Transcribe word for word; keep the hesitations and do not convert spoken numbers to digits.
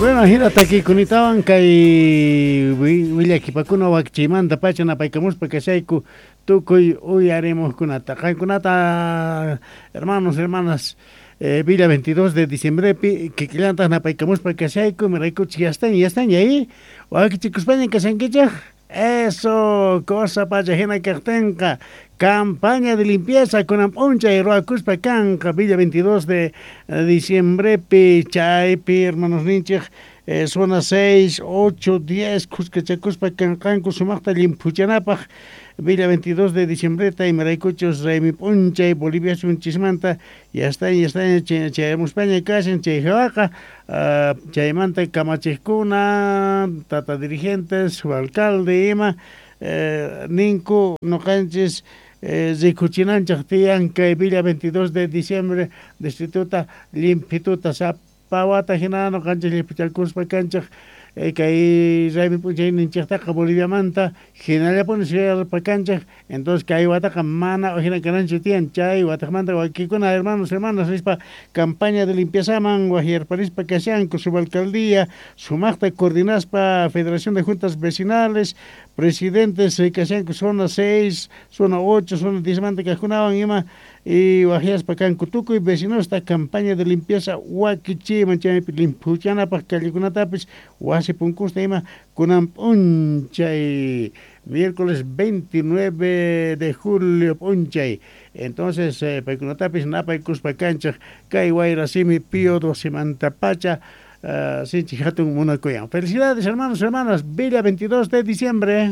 Bueno, hina takiykunatawan kay willakipakuna wakichiymanta pacha napaykamuspa kashayku tukuy uyarimuqkunata qankunata hermanos, hermanas, eh, Villa veintidós de diciembrepi kikillantaq napaykamuspa kashayku imaraykuchik ya están, ya están ahí wakichikuspaña kashankichik. Eso, cosa pacha hina kaqtinqa campaña de limpieza kunan p'unchay ruwakuspa kanqa Villa veintidós de diciembrepi chaypi hermanos ninchik eh, zona seis, ocho, diez khuskachakuspa kanqanku sumaqta llimphuchanapaq Villa veintidós de diciembreta imaraykuchus raymi p'unchay Bolivia sunchismanta ya está, ya está chayamuspaña kashan chay hawaqa uh, chaymanta kamachiqkuna tata dirigentes su alcalde ima eh, ninku noqanchis eh, rikuchinanchik tiyan kay Villa veintidós de diciembre distrituta limpituta sapawata hina noqanchis llimphuchakuspa kanchik eh, kay raymi p'unchayninchiktaqa Boliviamanta hinallapuni suyarpa kanchik. Entonces kay wataqa mana hina kananchu tiyan chay wataqmanta wakikuna hermanos, hermanas nispa campaña de limpieza-man wajyarparispa kashanku subalcaldía sumaqta coordinaspa Federación de Juntas Vecinales presidentes eh, kashanku zona seis, zona ocho, zona diez manta kaqkunawan ima y wajyaspa kanku tukuy vecinosta campaña de limpieza wakichiyman chaypi limphuchanapaq callekunatapis wasi punkusta ima kunan p'unchay miércoles veintinueve de julio p'unchay. Entonces eh, paykunatapis napaykuspa kanchik kay wayra simi Pío doce pacha uh, sinchi hatun munakuyan. Felicidades, hermanos, hermanas, Villa veintidós de diciembre.